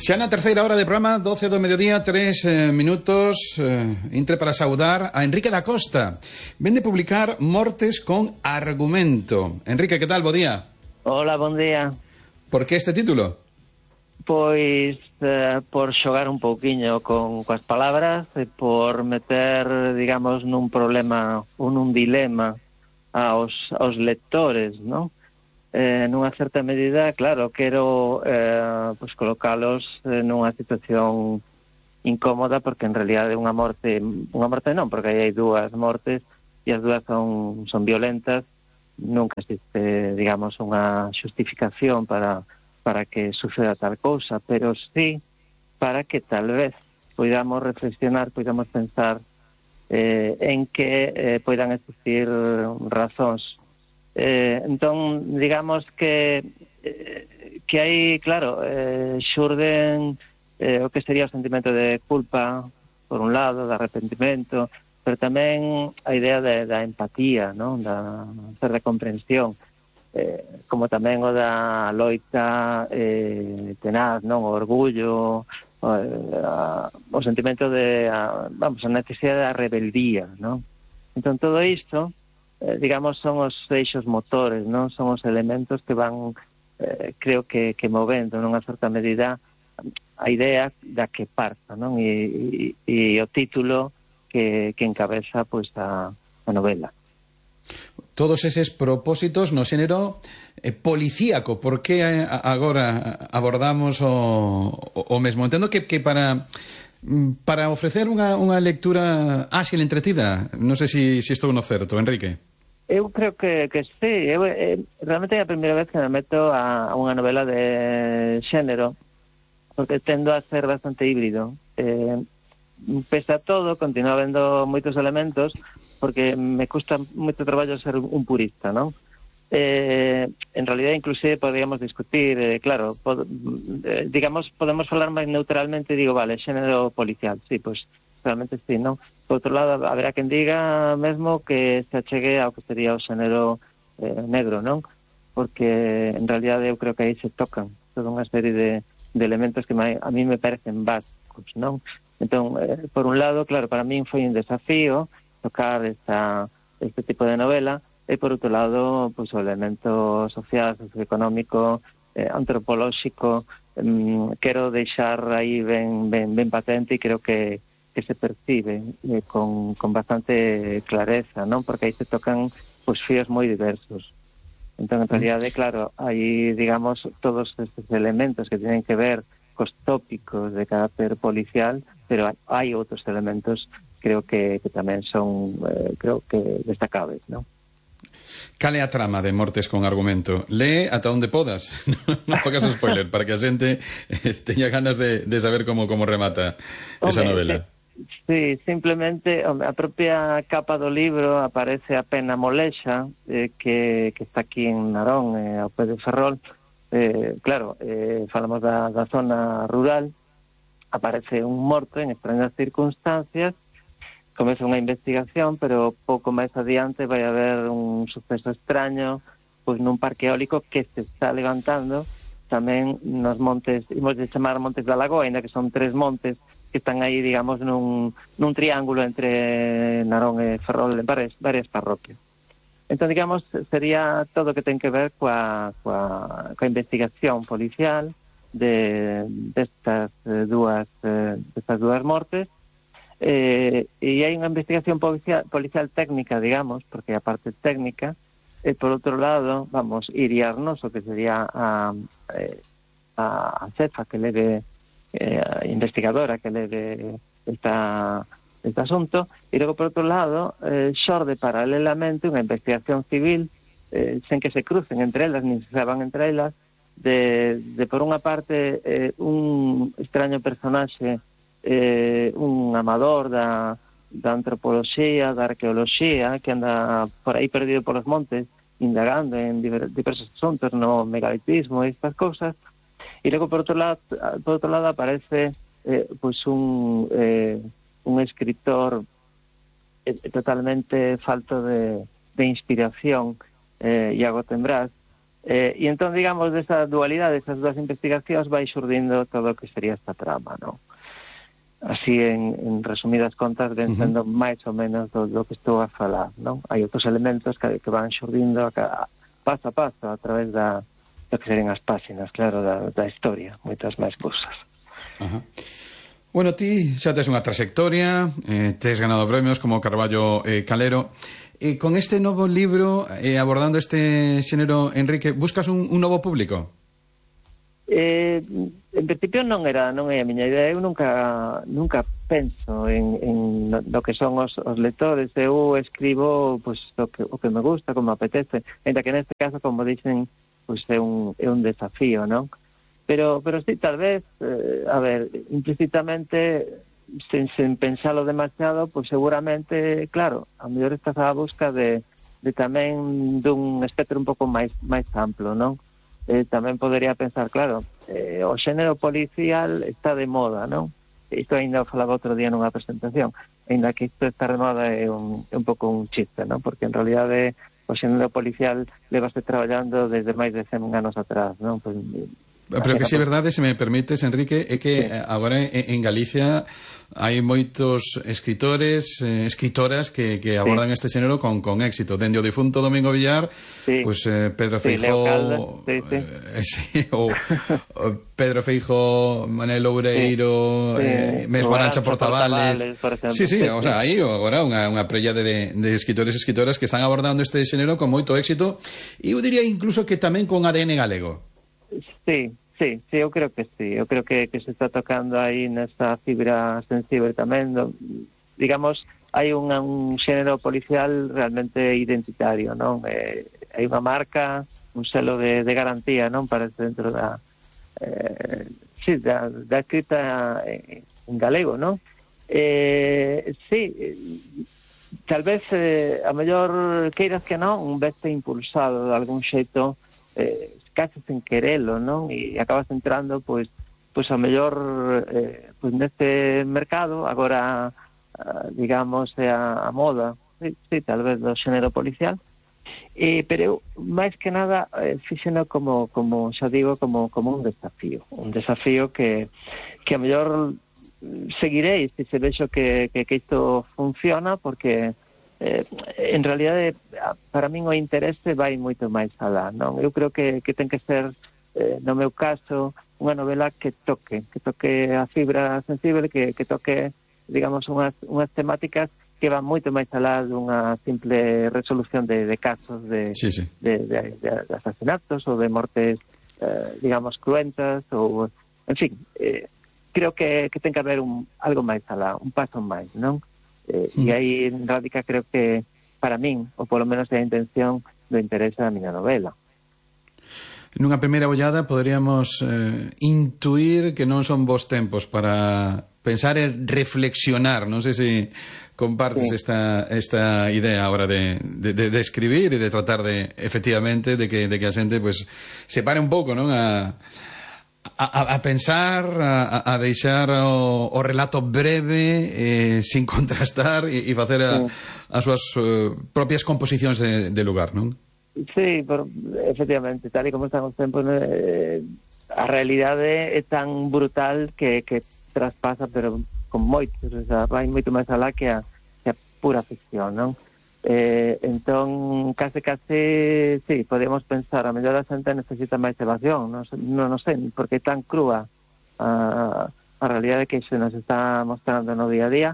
Xa na terceira hora de programa, 12 do mediodía, 3 minutos, entre para saudar a Enrique da Costa. Ven de publicar Mortes con Argumento. Enrique, que tal? Bo día. Hola, bon día. Por que este título? Pois por xogar un pouquiño coas palabras e por meter, digamos, nun problema ou nun dilema aos lectores, non? Nunha certa medida, claro, quero pois colocalos nunha situación incómoda, porque en realidad é unha morte non, porque aí hai dúas mortes e as dúas son violentas. Nunca existe, digamos, unha xustificación para que suceda tal cousa, pero sí para que tal vez poidamos reflexionar, poidamos pensar en que poidan existir razóns. Entón, digamos que hai, claro, xurden o que sería o sentimento de culpa, por un lado, de arrepentimento, pero tamén a idea da empatía, non? Da certa comprensión, como tamén o da loita tenaz, non? O orgullo, o sentimento de, a necesidade da rebeldía, non? Entón, todo isto, digamos, son os eixos motores, non? Son os elementos que van, creo que movendo nunha certa medida a idea da que parta, non? E o título que encabeza, pois, a novela. Todos eses propósitos no xénero policíaco, por que agora abordamos o mesmo? Entendo que para ofrecer unha lectura áxil, entretida, non sei se estou no certo, Enrique. Eu creo que sí. Realmente é a primeira vez que me meto a unha novela de xénero, porque tendo a ser bastante híbrido. Pese a todo, continuo vendo moitos elementos, porque me custa moito traballo ser un purista, non? En realidad, inclusive, podríamos discutir, claro, digamos, podemos falar máis neutralmente, digo, vale, xénero policial, sí, pois, realmente sí, non? Por outro lado, haberá quen diga mesmo que se achegue ao que sería o xénero negro, non? Porque, en realidad, eu creo que aí se tocan toda unha serie de elementos que a mí me parecen básicos, non? Entón, por un lado, claro, para min foi un desafío tocar este tipo de novela, e por outro lado, pois, o elemento social, socioeconómico, antropolóxico, quero deixar aí ben patente, e creo que se percibe con bastante clareza, non? Porque aí se tocan, pois, fíos moi diversos. Entón, en realidade, claro, hai, digamos, todos estes elementos que tienen que ver cos tópicos de carácter policial, pero hai outros elementos, creo que tamén son, creo que destacables, non? Cal é a trama de Mortes con Argumento? Lee ata onde podas. Non fagas spoiler, para que a xente teña ganas de saber como remata esa novela. Sí, simplemente a propia capa do libro aparece a Pena Molexa, que está aquí en Narón, ao pé de Ferrol. Claro, falamos da zona rural, aparece un morto en extrañas circunstancias, comeza unha investigación, pero pouco máis adiante vai haber un suceso extraño, pois nun parque eólico que se está levantando tamén nos montes, imos de chamar Montes da Lagoa, ainda que son 3 montes que están aí, digamos, nun triángulo entre Narón e Ferrol, en varias parroquias. Entón, digamos, sería todo o que ten que ver coa investigación policial destas dúas mortes, e hai unha investigación policial técnica, digamos, porque a parte técnica, e por outro lado, vamos, iriarnos o que sería a cefa que leve, a investigadora que leve este asunto, e logo, por outro lado, xorde paralelamente unha investigación civil, sen que se crucen entre elas, nin se saban entre elas, de por unha parte, un extraño personaxe, un amador da antropoloxía, da arqueoloxía, que anda por aí perdido polos montes, indagando en diversos asuntos, no megalitismo e estas cousas. E logo, por outro lado aparece pois un escritor totalmente falto de inspiración, Iago Tembrás, E entón, digamos, desa dualidade, desas dúas investigacións vai xurdindo todo o que sería esta trama, non? Así, en resumidas contas, ven sendo máis ou menos do que estou a falar, non? Hai outros elementos que van xurdindo paso a paso a través do que serían as páxinas, claro, da historia, moitas máis cousas. Ajá. Bueno, ti xa tes unha trayectoria, tes ganado premios como Carballo Calero. Con este novo libro, abordando este xénero, Enrique, buscas un novo público? En principio non é a miña idea. Eu nunca penso en lo que son os lectores. Eu escribo pois, o que me gusta, como apetece, ainda que neste caso, como dicen, pois é un desafío, non? Pero sí, tal vez, a ver, implícitamente, sen pensalo demasiado, pois seguramente, claro, a mellor estás á busca de tamén dun espectro un pouco máis amplo, non? Tamén podería pensar, claro, o xénero policial está de moda, non? Isto ainda o falaba outro día nunha presentación, ainda que isto está de moda é un pouco un chiste, non? Porque en realidade o xénero policial levase traballando desde máis de 100 anos atrás, non? Pues, pero que si é verdade, se me permites, Enrique, é que agora en Galicia hai moitos escritores, escritoras que abordan este xénero con éxito. Dende o difunto Domingo Villar, pues Pedro Feijó, ou Pedro Feijó, Manel Oureiro, mesmo Arancha Portavales. Sí, o sea, hai agora unha prella de escritores e escritoras que están abordando este xénero con moito éxito, e eu diría incluso que tamén con ADN galego. Sí, eu creo que sí. Eu creo que se está tocando aí nesa fibra sensible tamén. Digamos, hai un xénero policial realmente identitario, non? Hai unha marca, un selo de garantía, non? Para dentro da escrita en galego, non? Sí, tal vez a mellor queiras que non, veste impulsado de algún xeito, case sen querelo, non? E acabas entrando, pois a mellor pois neste mercado, agora digamos, é a moda, sí, tal vez do xénero policial, pero eu, máis que nada, fíxeno como xa digo, como un desafío que a mellor seguirei se vexo que isto funciona, porque en realidade para min o interese vai moito máis alá, non? Eu creo que ten que ser, no meu caso, unha novela que toque a fibra sensible, que toque, digamos, unhas temáticas que van moito máis alá dunha simple resolución de casos de asasinatos ou de mortes, digamos, cruentas, ou, en fin, creo que ten que haber algo máis alá, un paso máis, non? E aí radica, creo que para min, ou polo menos é a intención do interese da miña novela. Nunha primeira ollada poderíamos intuir que non son bons tempos para pensar e reflexionar. Non sei se compartes esta idea ahora de escribir e de tratar de, efectivamente, de que a xente pues se pare un pouco, non? A pensar, a deixar o relato breve, sin contrastar, e facer as súas propias composicións de lugar, non? Sí, efectivamente, tal e como están os tempos, a realidade é tan brutal que traspasa, pero con moito, o sea, vai moito máis alá que a pura ficción, non? Entón, case, sí, podemos pensar, a mellor a xente necesita máis evasión, non sei, porque é tan crúa a realidade que se nos está mostrando no día a día,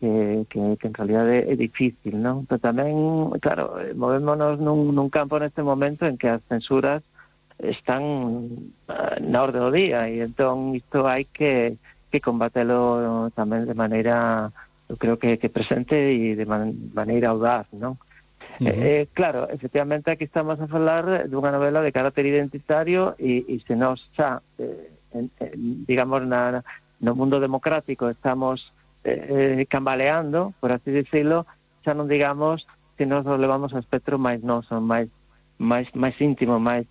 que en realidade é difícil, non? Pero tamén, claro, movémonos nun campo neste momento en que as censuras están na orde do día, e entón isto hai que combatelo tamén de maneira, eu creo que presente e de maneira audaz, non? Claro, efectivamente aquí estamos a falar dunha novela de carácter identitario, e se nos xa, digamos, no mundo democrático estamos cambaleando, por así decirlo, xa non digamos que nos levamos ao espectro máis noso, máis íntimo, máis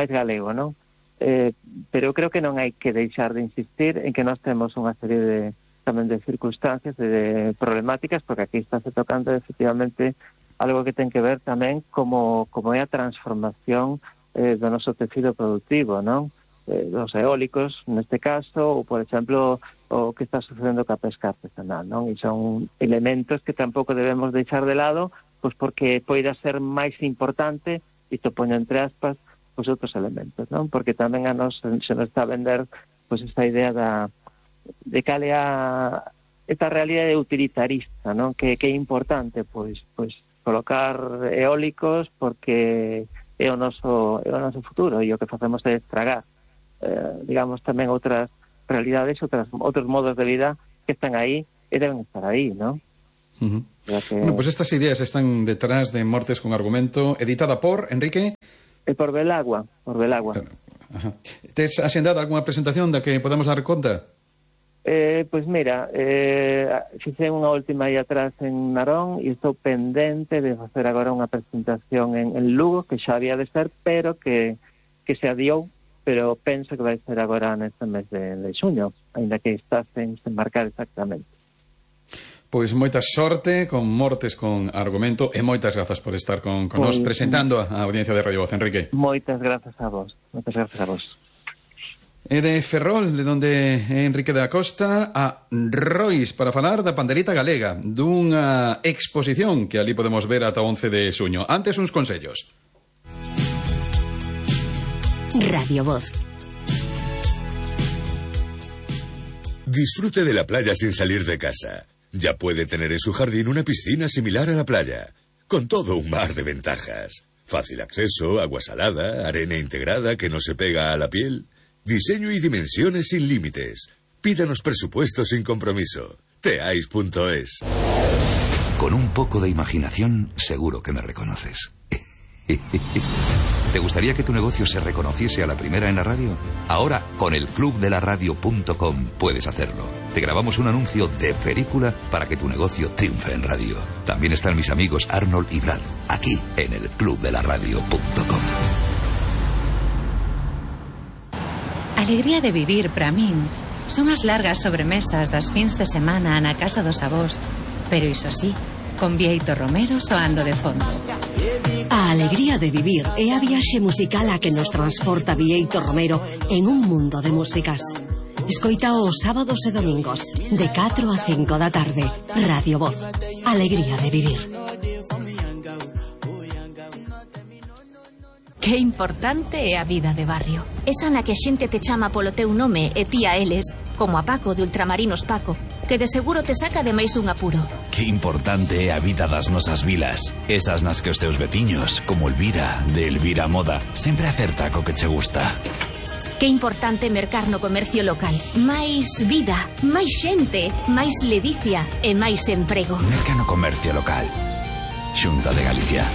galego, non? Pero eu creo que non hai que deixar de insistir en que nós temos unha serie tamén de circunstancias e de problemáticas, porque aquí está se tocando efectivamente algo que ten que ver tamén como é a transformación do noso tecido productivo, non? Dos eólicos, neste caso, ou, por exemplo, o que está sucedendo ca pesca artesanal, non? E son elementos que tampouco debemos deixar de lado, pois porque poida ser máis importante, isto poño entre aspas, pois outros elementos, non? Porque tamén a nos se nos está a vender pois esta idea de cal é esta realidade utilitarista, non? Que é importante, pois colocar eólicos porque é o noso futuro, e o que facemos é estragar, digamos, tamén outras realidades, outros modos de vida que están aí e deben estar aí, non? Bueno, pues estas ideas están detrás de Mortes con Argumento, editada por Enrique... Por Belagua. Ajá. Tes asendado algunha presentación da que podamos dar conta? Pois mira, fixe unha última aí atrás en Narón e estou pendente de facer agora unha presentación en Lugo, que xa había de ser, pero que se adiou, pero penso que vai ser agora neste mes de xuño, ainda que está sen marcar exactamente. Pois moita sorte con Mortes con Argumento e moitas grazas por estar con nos presentando a audiencia de Radio Voz, Enrique. Moitas grazas a vos. E de Ferrol, de donde Enrique da Costa, a Rois para falar da pandereta galega, dunha exposición que ali podemos ver ata 11 de xuño. Antes, uns consellos. Radio Voz. Disfrute de la playa sin salir de casa. Ya puede tener en su jardín una piscina similar a la playa, con todo un mar de ventajas. Fácil acceso, agua salada, arena integrada que no se pega a la piel, diseño y dimensiones sin límites. Pídanos presupuesto sin compromiso. Teais.es. Con un poco de imaginación, seguro que me reconoces. ¿Te gustaría que tu negocio se reconociese a la primera en la radio? Ahora, con el clubdelaradio.com puedes hacerlo. Te grabamos un anuncio de película para que tu negocio triunfe en radio. También están mis amigos Arnold y Brad, aquí en el clubdelaradio.com. Alegría de vivir para min son as largas sobremesas das fins de semana na casa dos avós, pero iso sí, con Bieito Romero soando de fondo. A alegría de vivir é a viaxe musical a que nos transporta Bieito Romero en un mundo de músicas. Escoita os sábados e domingos de 4 a 5 da tarde. Radio Voz. Alegría de vivir. Que importante é a vida de barrio. Esa na que a xente te chama polo teu nome e ti a eles, como a Paco de Ultramarinos Paco, que de seguro te saca de máis dun apuro. Que importante é a vida das nosas vilas. Esas nas que os teus veciños, como Elvira, de Elvira Moda, sempre acerta co que che gusta. Que importante mercar no comercio local. Máis vida, máis xente, máis ledicia e máis emprego. Merca no comercio local. Xunta de Galicia.